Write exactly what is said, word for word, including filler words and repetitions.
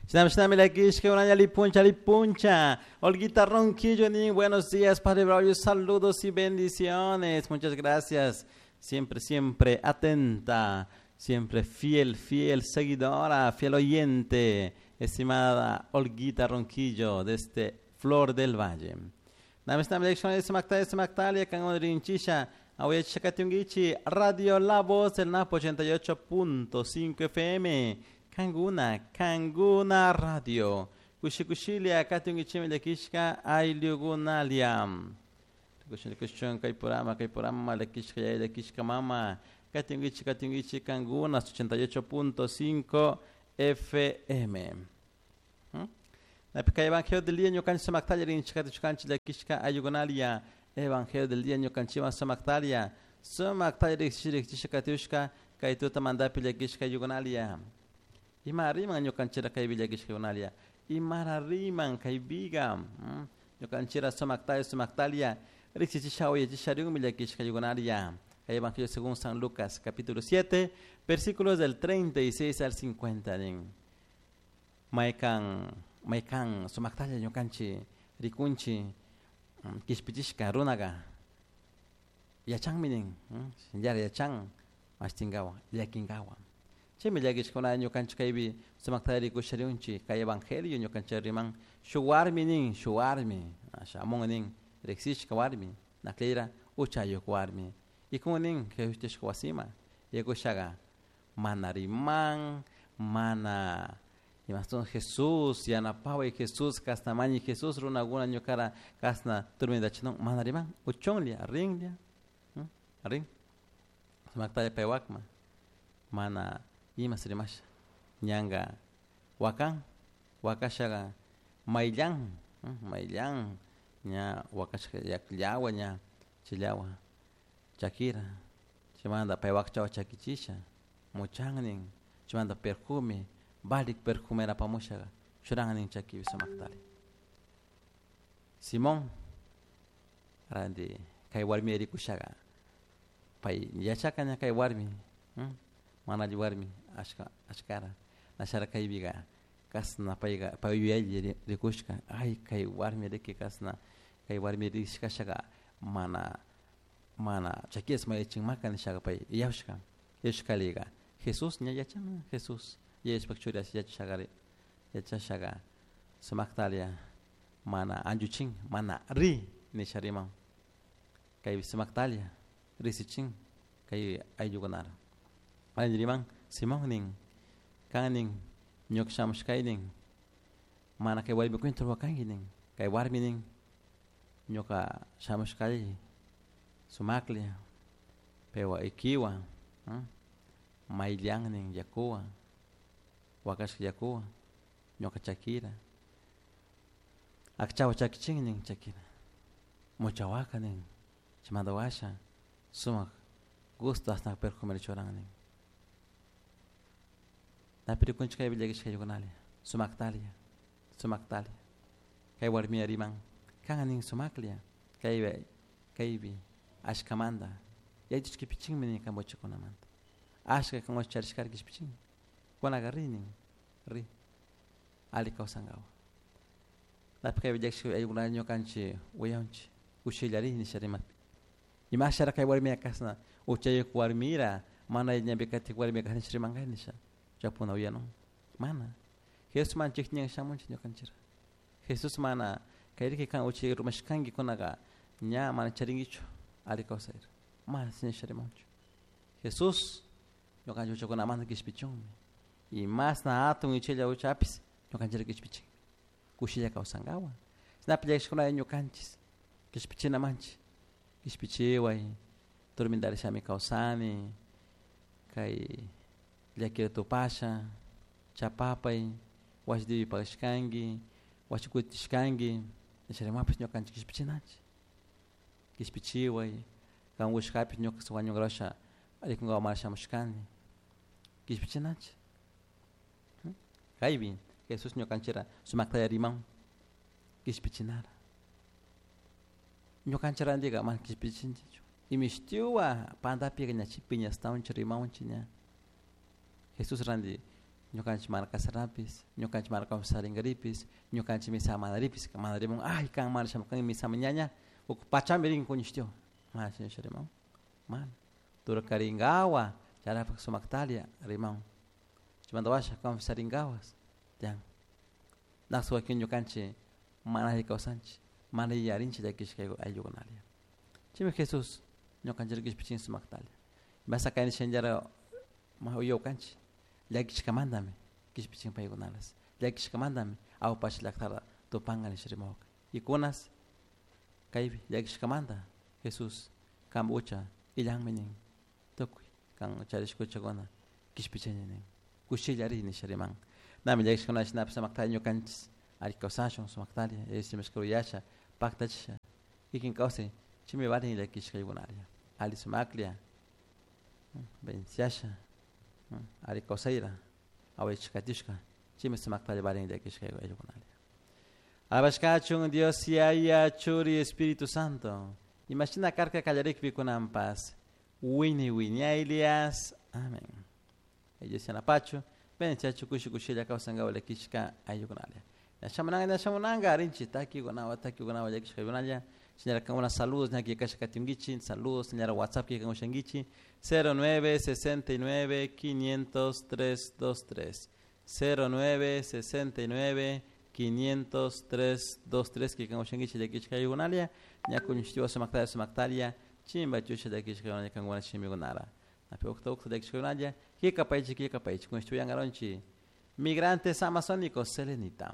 Shinami llakishka lipuncha lipuncha. Olguita Ronquillo nin, buenos días, Padre Braulio, saludos y bendiciones. Muchas gracias. Siempre, siempre atenta, siempre fiel, fiel seguidora, fiel oyente, estimada Olguita Ronquillo, desde Flor del Valle. Radio La Voz del Napo ochenta y ocho punto cinco F M. Kanguna, Kanguna Radio. Kushikushilia, katungichimi lekishka, aylugunalia. Kushikushun, kaipurama, kaipurama, lekishka, yay, lekishka, mama. Katungichi, katungichi, Kanguna, ochenta y ocho punto cinco F M. Napika Evangelio del día, ñukanchi samaktalia, rinchikati chukanchi lekishka, ayugunalia. Evangelio del día, ñukanchiwan samaktalia. Samaktalia, rikchishikatiushka, kaituta mandapi lekishka, ayugunalia. Ima riman ñukanchira kay villakishka Imara riman kay viga. Ñukanchira sumaktalia sumaktalia. Riksichisha yachishariun villakishka yugunalia. Kay Evangelio según San Lucas, capítulo siete, versículos del treinta y seis al cincuenta. Maikan, maikan sumaktalia ñukanchi rikunchi kishpichishka runaga. Yachan minin, yara yachan, mastingawa, llakingawa. Chaymi llakishkuna ñukanchik kaypi sumakta rikushariunchik kay evangelio ñukanchik riman shuwarmi nin shuwarmi shamun nin riqsishka warmi naklira uchayuq warmi ikun nin Jesusta wasima yakushaqa mana riman mana imastun Jesús yanapaway Jesús kasnamañi Jesús runakuna ñuqara kasna turmindachinun mana riman uchunlla rinlla rin sumaktalla paywakma mana imas rimasha ñanqa wakan wakashaqa mayllan mayllan ña wakashka llawa ña chillawa chakira chaymanta pay wakchawa chakichisha muchannin chaymanta perfume valik perfumera apamushaqa churannin chakipi sumaktari Simón ranti kay warmi rikushaqa pay yachaka ña kay warmi mana alli warmi ashka ashkara nashara kaypiqa kasna payqa pay yuyaylla rikushka ay kay warmi riki kasna kay warmi rishkashaqa mana mana chakiyas mayachinmaka nishaqa pay yawshka yawshkaliqa Jesús ña yachan Jesús yachashpa churi yachashaqari yachashaqa sumaktalia mana anchuchin mana ri nisha riman kay sumaktalia risichin kay ayllukunara riman Simón nin kan nin ñuka shamushkay nin mana kay warmi kwinta ruwakanki nin kay warmi nin ñuka shamushkay sumaklla paywan ikiwan mayllan nin yakuwan wakashka yakuwan ñuka chakira akchawa chakichin nin chakira muchawaka nin chaymanta washa sumak gusto asnak perfumera churan nin napi rikunchik kay villakishka ayllikunalia sumaktalia sumaktalia kay warmiya riman kan nin sumaklla kaypi kaypi ashkamanta yaytush kipichinmi nin kan wachakunamanta ashka kan wacharishkara kishpichin kunaqa ri nin ri alli kawsankawa napi kay villakishka ayllukunalla ñukanchik uyanchik kushilla ri nisha rimakpi imashara kay warmiya kasna uchayuq warmira mana ñampi katik warmiya kasna rimankay nisha chapuna uyanun mana Jesús mana chikñan shamunchik ñukanchira Jesús mana kayriki kan uchay rumashkanki kunaqa ña mana charinkichu alli kawsayra mana nisha rimanchu Jesús ñukanchik uchakunamanta kishpichunmi y masna hatun ichilla uchapis ñukanchira kishpichinmi kushilla kawsankawan shinapi llakishkunalla ñukanchis kishpichinamanchik kishpichiway turmintarishami kawsani kay llakira tupasha chapapay wasi dibi pagashkanki wasi kutishkanki nisharimapis ñukanchik kishpichinanchik kishpichiway kan wishkapis ñuka wañunkarasha rikunkawan mana shamushkani kishpichinanchik kaypi Jesús ñukanchira sumaktalla riman kishpichinara ñukanchik rantika mana kishpichinchikchu imishtiwa pantapiqa ña piñastawanchik rimawanchik ña Jesús ranti Ñukanchik mana kasarapis, ñukanchik mana confesarinkaripis, ñukanchik misa manaripis, mana rimun, ay, kan mana shamukanki misama ñaña, uk pachami rin kuñishtiw, mana shina riman, mana. Turkarinkawa, chayrapak sumaktalia riman. Chaymanta washa confesarinkawas, tiyan. Naqsa wakin ñukanchik mana alli kawsanchik, mana yuyarinchik llakishka ayllukunalla. Chaymi Jesús ñukanchik kishpichin sumaktalia. Masa kayna shinallara uyawkanchik, llakishkamantami kishpichin paykunalas, llakishkamantami awpacha llaktata tupanka nisha rimawka. Y kunas kaypi llakishkamanta Jesús kanpa ucha illanmi nin tukuy kan charishka uchakuna kishpichini nin kushilla ri nisha riman. Nami llakishkuna shinapish sumaktalla ñukanchik alli kawsashun sumaktalla rimashka yuyasha paktachisha kikin kawsay chaymi valin llakishka ayllunalla alli sumaklla beneficiasha alli kawsayra awaychikatishka chaymi sumaktalla valin llakishka ayllukunalla. Alabashkachun Dios Yaya Churi Espíritu Santo. Imashina karka kallarikpi kunanpas wini wiñaylias. Amén. Ellos yanapachu beneficiachu kushi kushilla kawsankawa llakishka ayllukunalla. Shamunanga shamunanga rinchi takikunawa takikunawa llakishka ayllukunalla. Señora, kankuna saludos ña kasha katinkichi, saludos señora WhatsApp que kanushankichi cero nueve sesenta y nueve quinientos tres dos tres cero nueve sesenta y nueve quinientos tres dos tres que kanushankichi llakishka ayllukunalla. Ña kuñushtiwa sumaktalia sumaktalia chimba chusha llakishka ayllukunalla kankuna chimikunara. Napi ukta ukta llakishka ayllukunalla kikapaychi kikapaychi kuñushtiwa yangaronchi. Migrantes amazónicos Selenita.